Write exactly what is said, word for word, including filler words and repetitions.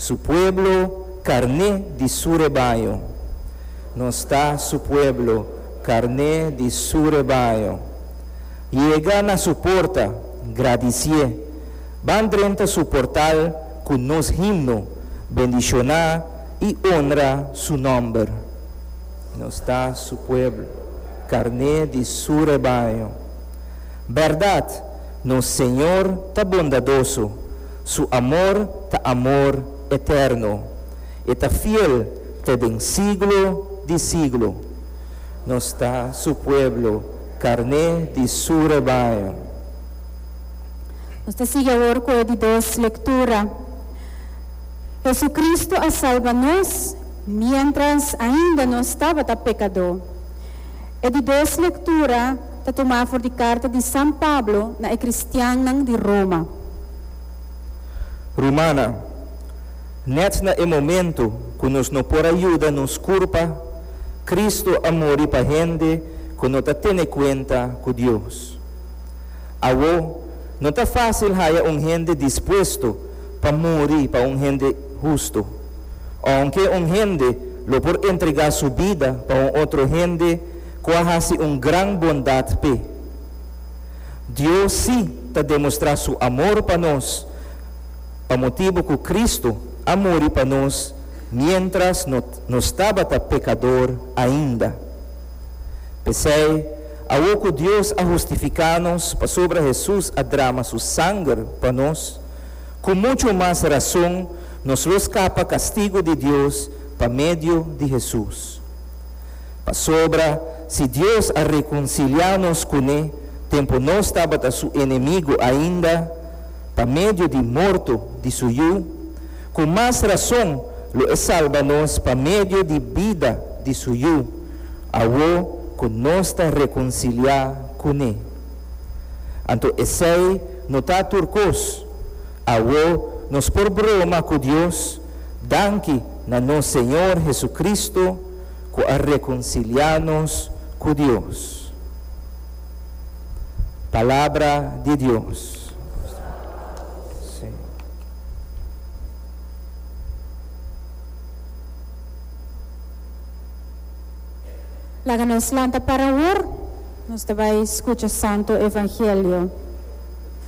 Su pueblo, karné di su rebaño. Nos ta su pueblo, karné di su rebaño. Yega na su porta, gradisié. Ban drenta su portal ku nos himno, bendishoná i honra su nòmber. Nos ta su pueblo, karné di su rebaño. Bèrdat, nos Señor ta bondadoso, su amor ta amor eterno. E ta fiel te den siglo di siglo. Nos ta su pueblo, karné di su rebaño. Nos ta sigui awor ku e di dos lektura. Hesukristu a salba nos miéntras ainda nos tabata pekadó. E di dos lektura ta tumá for di karta di San Pablo na e kristiannan di Roma. Rumannan, nèt na e momento ku nos no por a yuda nos kurpa, Kristu a muri pa hende ku no ta tene kuenta ku Dios. Awó, no ta fásil haña un hende dispuesto pa muri pa un hende hustu. Ounke un hende lo por entregá su bida pa un otro hende ku a hasi un gran bondat p'e. Dios sí ta demostrá su amor pa nos pa motibu ku Kristu a muri pa nos miéntras nos tabata pekador ainda. P'esei, awor ku Dios a hustifiká nos pasobra Hesus a drama su sanger pa nos, ku muchu mas rason nos lo skapa kastigu di Dios pa medio di Hesus. Pasobra si Dios a rekonsiliá nos kuné tempu nos tabata su enemigu ainda, pa medio di morto di su Yu, ku mas rason lo e salba nos pa medio di bida di su Yu, awor ku nos ta rekonsiliá kuné. Anto esei no ta tur kos. Awor nos por broma ku Dios, danki na nos Señor Hesukristu ku a rekonsiliá nos ku Dios. Palabra di Dios. Laga nos lanta para awor, nos ta bai skucha Santu Evangelio.